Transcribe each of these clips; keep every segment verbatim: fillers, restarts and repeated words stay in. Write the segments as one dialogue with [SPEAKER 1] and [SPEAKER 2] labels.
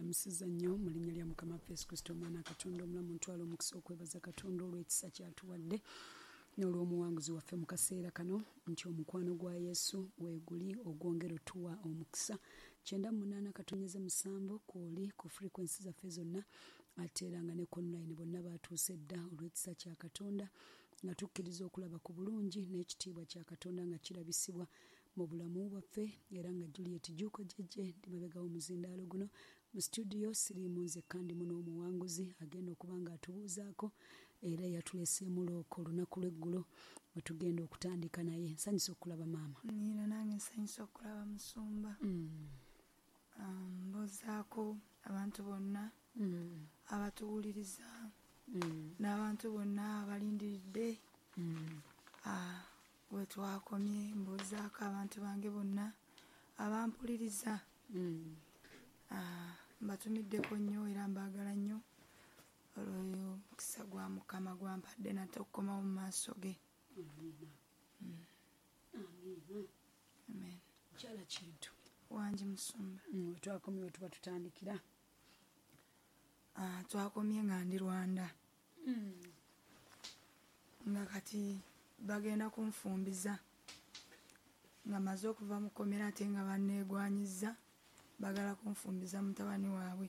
[SPEAKER 1] Lamusiza nnyo mu linnya lya Mukama waffe Yesu Kristo, Omwana Katonda omulamu. Ntwala omukisa okwebaza Katonda olw'ekisa kyatuwadde n'olw'omuwanguzi waffe mu kaseera kano, nti omukwano gwa Yesu weeguli ogwongera otuwa omukisa. Kyenda munaana katonyeze musanvu kwoli ku frequency zaffe zonna, ate era nga ne ku online bonna batuuse dda olw'ekisa kya Katonda, nga tukkiriza okulaba ku bulungi n'ekitiibwa kya Katonda nga kirabisibwa mu bulamu bwaffe. Era nga Juliet Juuko Jjejje ndi mabega w'omuzindaalo guno mu studio, siriimu nzekka, ndimu n'omuwanguzi agenda okuba nga atubuuzaako era yatuleseemu looko olunaku lw'eggulo we tugenda okutandika naye. Nsanyusa okulaba maama.
[SPEAKER 2] Nina nange nsanyusa okulaba musumba.
[SPEAKER 1] Mm.
[SPEAKER 2] Um, mbuuzaako abantu bonna
[SPEAKER 1] Mm.
[SPEAKER 2] abatuwuliriza
[SPEAKER 1] Mm.
[SPEAKER 2] n'abantu bonna abalindiridde
[SPEAKER 1] Mm.
[SPEAKER 2] ah, we twakomye. Mbuuzaako abantu bange bonna abampuliriza.
[SPEAKER 1] Mm.
[SPEAKER 2] Ah, mbatumiddeko nnyo era mbaagala nnyo olw'oyo omukisa gwa Mukama gwampadde nate okukomawo mu maaso ge.
[SPEAKER 1] Amiina. Amiina.
[SPEAKER 2] Amen.
[SPEAKER 1] Mukyala Kintu.
[SPEAKER 2] Wangi musumba.
[SPEAKER 1] Mm, we twakomye we tuba tutandikira.
[SPEAKER 2] Ah, twakomye nga ndi Rwanda.
[SPEAKER 1] Mm.
[SPEAKER 2] Nga kati bagenda kunfumbiza nga maze okuva mu kkomera, ate nga banneegwanyiza bagala kunfumbiza mutabani waabwe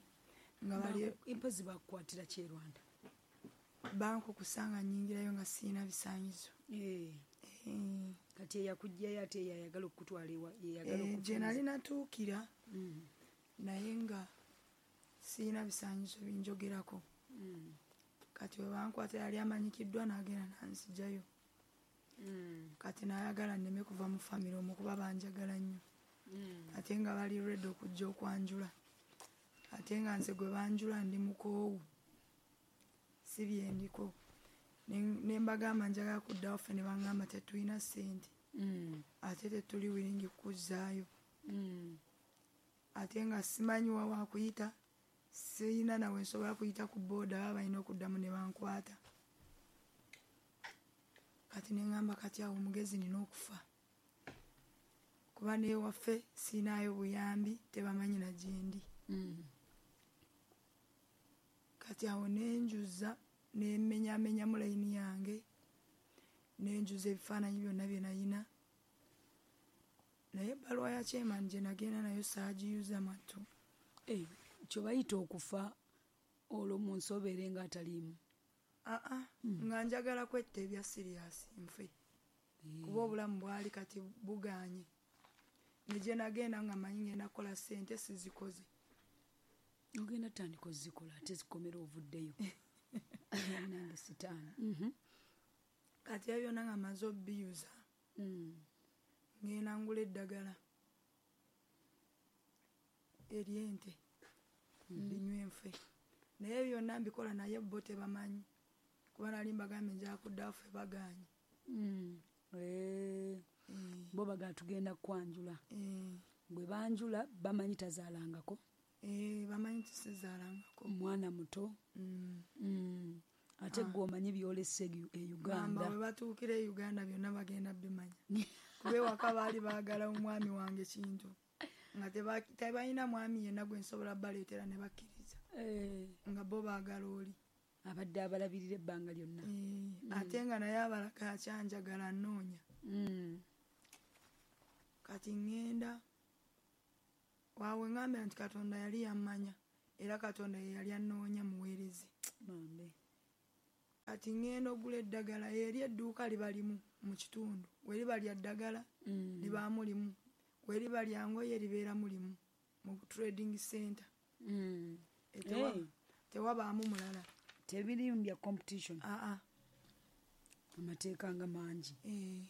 [SPEAKER 2] nga bali.
[SPEAKER 1] Impozi bakukwatira ki e Rwanda?
[SPEAKER 2] Bankukusa nga nnyingirayo nga sirina bisaanyizo.
[SPEAKER 1] Eh,
[SPEAKER 2] Eh,
[SPEAKER 1] kati eyakuggyayo ate eyayagala okukutwala ewa yeyagala
[SPEAKER 2] eh, gye nali natuukira
[SPEAKER 1] Mm.
[SPEAKER 2] naye nga sirina bisaanyizo binjogerako.
[SPEAKER 1] Mm.
[SPEAKER 2] Kati we bankwata yali amanyikiddwa n'agenda nanzigyayo.
[SPEAKER 1] Mm.
[SPEAKER 2] Kati n'ayagala nneme kuva mu famire omwo kuba banjagala nnyo,
[SPEAKER 1] Mm.
[SPEAKER 2] ate nga bali ready okujja okwanjula, ate nga nze gwe banjula ndi mukoowu, si byendiko. Ne ne mbagamba njagala kuddawo ffe, ne baŋŋamba tetulina ssente
[SPEAKER 1] Mm.
[SPEAKER 2] ate tetuli willing kukuzzaayo,
[SPEAKER 1] Mm.
[SPEAKER 2] ate nga simanyi wa wakuyita, sirina nawe nsobola kuyita ku booda, baba balina okuddamu ne bankwata. Kati ne ŋŋamba kati awo omugezi nina okufa kuba n'ewaffe siinaayo buyambi, tebamanyi na gyendi.
[SPEAKER 1] Mm.
[SPEAKER 2] Kati awo nenjuza nemmenyamenyamu layini yange, nenjuza ebifaananyi byonna bye nayina, naye ebbaluwa ya chairman gye nagenda nayo saagiyuza mwattu.
[SPEAKER 1] Eh, kye bayita okufa olwo mu nsi obeere nga ataliimu.
[SPEAKER 2] Aa, nga njagala kwetta ebya serious nfe, kuba obulamu bwali kati buganye, ne gye nagenda nga manyi ngenda kukola ssente, sizikoze.
[SPEAKER 1] Ogenda tandika ozikola ate zikomera ovuddeyo nange sitaani. Mhm.
[SPEAKER 2] Kati ebyo byonna nga maze obbiyuza,
[SPEAKER 1] Mm.
[SPEAKER 2] ngenda ngula eddagala ery'ente ndinywa enfe, naye byonna mbikola naye bo tebamanyi kuba nali mbagambye njagala kuddawo ffe, bagaanye.
[SPEAKER 1] Mm. Eh,
[SPEAKER 2] Eh,
[SPEAKER 1] bo bagaa tugenda kwanjula.
[SPEAKER 2] Eh,
[SPEAKER 1] bwe banjula bamanyi tazaalangako.
[SPEAKER 2] Eh, bamanyi tisizaalangako.
[SPEAKER 1] Mwana muto.
[SPEAKER 2] Mm.
[SPEAKER 1] Mm. Ate gwe omanyi byolese e
[SPEAKER 2] Gamba
[SPEAKER 1] Uganda.
[SPEAKER 2] Bwe batuukira e Uganda byonna bagenda bimanya, kuba ewaka baali baagala omwami wange Kintu nga teba- tebalina mwami yenna gwe nsobola baleetera ne bakkiriza,
[SPEAKER 1] Eh,
[SPEAKER 2] nga bo baagala oli.
[SPEAKER 1] Abadde abalabirira ebbanga lyonna.
[SPEAKER 2] Eh, ate nga naye abalaka akyanjagala nnoonya.
[SPEAKER 1] Mm.
[SPEAKER 2] Kati ŋŋenda waawe ŋŋambira nti Katonda yali yammanya era Katonda ye yali annoonya muweereze.
[SPEAKER 1] Bambi.
[SPEAKER 2] Kati ŋŋenda ogula eddagala eri edduuka liba limu mu kitundu, we liba lya ddagala
[SPEAKER 1] Mm.
[SPEAKER 2] libaamu limu, we liba lya ngoye libeeramu limu mu trading center.
[SPEAKER 1] Mm.
[SPEAKER 2] E, tewa-
[SPEAKER 1] Hey.
[SPEAKER 2] tewabaamu mulala.
[SPEAKER 1] Tebirimu bya competition.
[SPEAKER 2] Aa.
[SPEAKER 1] Amateeka nga mangi.
[SPEAKER 2] Eh,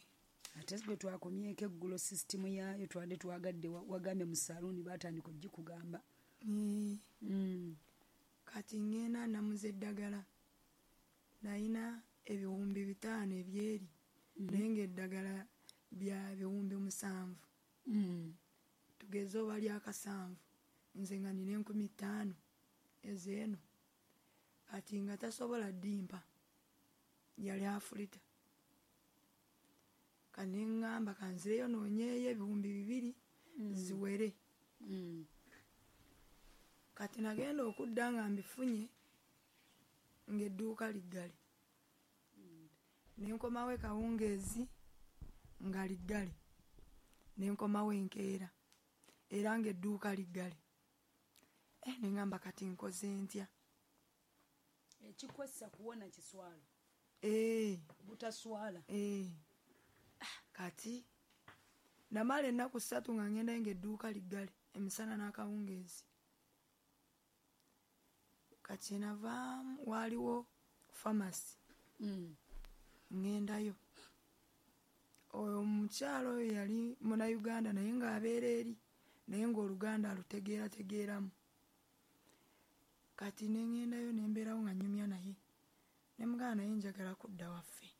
[SPEAKER 1] ate gwe twakomyeko eggulo sisitimu yaayo twadde twagadde wa- wagambye mu saluuni batandika ogikugamba.
[SPEAKER 2] Eh,
[SPEAKER 1] Mm.
[SPEAKER 2] Kati ŋŋenda namuza eddagala, nayina ebiwumbi bitaano ebyeri, naye ng'eddagala bya biwumbi musanvu.
[SPEAKER 1] Mm.
[SPEAKER 2] Tugeze oba lyakasanvu, nze nga nina enkumi ttaano ezeeno. Kati nga tasobola ddimpa, yali afulita. Kati ne ŋŋamba kanzireyo noonyeeyo ebiwumbi bibiri ziwere.
[SPEAKER 1] Mm.
[SPEAKER 2] Kati nagenda okudda nga mbifunye ng'edduuka liggale. Ne nkomawo e Kawungeezi nga liggale. Ne nkomawo enkeera era ng'edduuka liggale. Eh, ne ŋŋamba kati nkoze ntya?
[SPEAKER 1] Ekikwessa kuwona kiswalo.
[SPEAKER 2] Eh.
[SPEAKER 1] Butaswala.
[SPEAKER 2] Eh. Kati namala ennaku ssatu nga ŋŋendayo ng'edduuka liggale emisana n'akawungeezi. Kati navaamu waaliwo famasi.
[SPEAKER 1] Mm.
[SPEAKER 2] Ŋŋendayo. Oyo omukyala oyo yali Munnayuganda naye ng'abeera eri naye ng'Oluganda alutegeerategeeramu. Kati ne ŋŋendayo ne mbeerawo nga nnyumya naye. Ne mugamba naye njagala kudda waffe.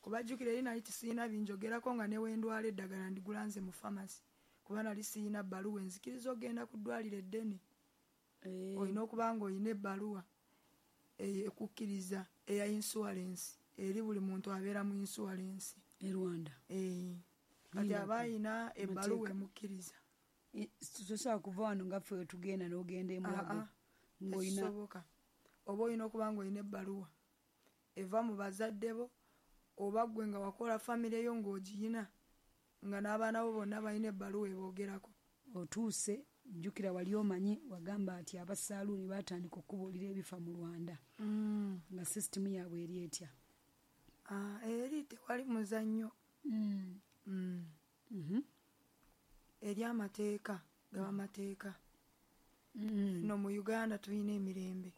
[SPEAKER 2] Kuba jjukira eri nali tisiyina binjogerako nga ne we ndwala eddagala ndigula nze mu famasi. Kuba nali siyina bbaluwa enzikiriza okugenda ku ddwaliro eddene.
[SPEAKER 1] Eh.
[SPEAKER 2] Olina okuba ng'olina ebbaluwa ekukkiriza eya insurance eri buli muntu abeera mu insurance.
[SPEAKER 1] E Rwanda.
[SPEAKER 2] Eh. Kati aba ayina ebbaluwa emukkiriza.
[SPEAKER 1] Tosobola kuva wano nga ffe tugenda n'ogenda e Mulago. Ng'olina
[SPEAKER 2] Tekisoboka. Oba olina okuba ng'olina ebbaluwa eva mu bazadde bo oba ggwe nga wakola famire yo ng'ogiyina nga n'abaana bo bonna balina ebbaluwa eboogerako.
[SPEAKER 1] Otuuse jjukira wali omanyi wagamba ati abasaaluuni baatandika okubuulira ebifa mu Rwanda.
[SPEAKER 2] Mm.
[SPEAKER 1] Nga sisitimu yaabwe eri etya?
[SPEAKER 2] Ah, eri tewali muzannyo.
[SPEAKER 1] Mm.
[SPEAKER 2] Mm.
[SPEAKER 1] Mhm.
[SPEAKER 2] Eri amateeka gaba mateeka.
[SPEAKER 1] Mm.
[SPEAKER 2] No mu Uganda tulina emirembe.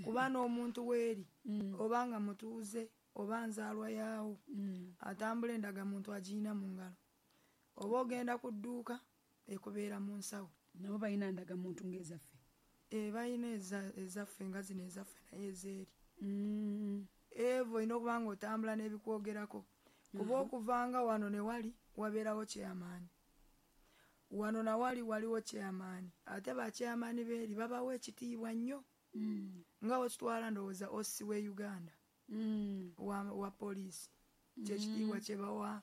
[SPEAKER 2] Kuba n'omuntu weeri
[SPEAKER 1] Mm.
[SPEAKER 2] oba nga mutuuze oba nzaalwa yaawo
[SPEAKER 1] Mm.
[SPEAKER 2] atambula endagamuntu agiyina mu ngalo. Oba ogenda ku dduuka ekubeera mu nsawo.
[SPEAKER 1] Nabo balina ndagamuntu ng'ezaffe.
[SPEAKER 2] Eh, balina ezaffe nga zino ezaffe naye ezeeri.
[SPEAKER 1] Mm.
[SPEAKER 2] Evo olina okuba ng'otambula n'ebikwogerako. Kuba okuvanga wano ne wali wabeerawo chairman. Wano na wali waliwo chairman. Ate ba chairman beeri babawa ekitiibwa nnyo.
[SPEAKER 1] Mm.
[SPEAKER 2] Nga wekitwala ndowooza O C we Uganda.
[SPEAKER 1] Mm.
[SPEAKER 2] Wa, wa poliisi. Kyekitiibwa kye bawa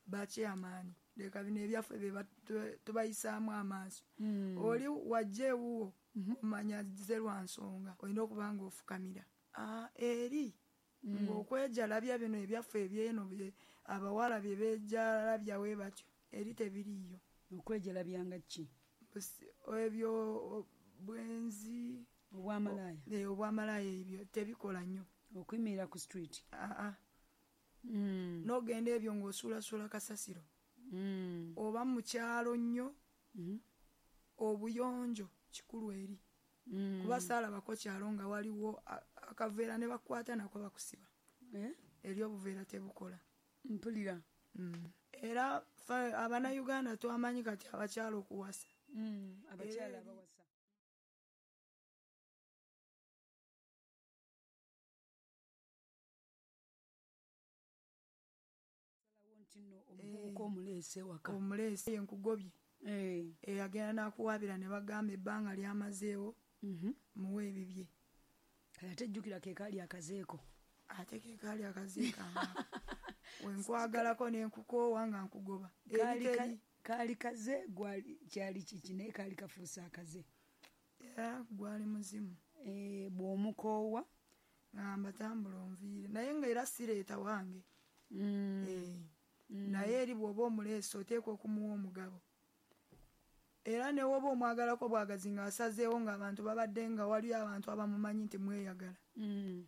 [SPEAKER 2] ba chairman. Leka bino ebyaffe bye tubayisaamu amaaso.
[SPEAKER 1] Mm.
[SPEAKER 2] Oli wajja ewuwo omanya ze lwa nsonga olina okuba ng'ofukamira. Ah, eri
[SPEAKER 1] Mm.
[SPEAKER 2] ng'okwejalabya bino ebyaffe ebyeno bye abawala bye beejalabya we batyo eri tebiriiyo.
[SPEAKER 1] Okwejalabya nga ki?
[SPEAKER 2] Ebyo bwenzi
[SPEAKER 1] obwamalaaya.
[SPEAKER 2] Eh, obwamalaaya ebyo tebikola nnyo.
[SPEAKER 1] Okuyimirira ku street.
[SPEAKER 2] Ah ah.
[SPEAKER 1] Mm.
[SPEAKER 2] N'ogenda ebyo ng'osuulasuula kasasiro.
[SPEAKER 1] Mm.
[SPEAKER 2] Oba mu kyalo nnyo
[SPEAKER 1] mm.
[SPEAKER 2] obuyonjo kikulu eri.
[SPEAKER 1] Mm.
[SPEAKER 2] Kuba saalabako kyalo nga waliwo akaveera ne bakwata nako bakusiba.
[SPEAKER 1] Eh?
[SPEAKER 2] Eri obuveera tebukola.
[SPEAKER 1] Mpulira.
[SPEAKER 2] Mm. Era Abannayuganda twamanyi kati abakyala okuwasa.
[SPEAKER 1] Mm. Abakyala abawasa. Nti nno omuvubuka omuleese waka.
[SPEAKER 2] Omuleese enkugobye.
[SPEAKER 1] Eh.
[SPEAKER 2] Eh, agenda n'akuwaabira ne bagamba ebbanga ly'amazeewo
[SPEAKER 1] Mhm.
[SPEAKER 2] muwe ebibye.
[SPEAKER 1] Kale ate jjukira ke kaali akazeeko.
[SPEAKER 2] Ate ke kaali akazeeko amaka. Wenkwagalako ne nkukoowa nga nkugoba. Eri
[SPEAKER 1] Kaali kaze gwali kyali kiki naye kaali kafuuse akaze.
[SPEAKER 2] Era gwali muzimu.
[SPEAKER 1] Eh, bw'omukoowa
[SPEAKER 2] ngamba tambula onviire naye nga era sireeta wange.
[SPEAKER 1] Mm.
[SPEAKER 2] Eh.
[SPEAKER 1] Mm.
[SPEAKER 2] Naye eri bw'oba omuleese oteekwa okumuwa omugabo. Era ne woba omwagalako bwagazi ng'asazeewo ng'abantu babadde nga waliyo abantu abamumanyi nti mweyagala.
[SPEAKER 1] Mm.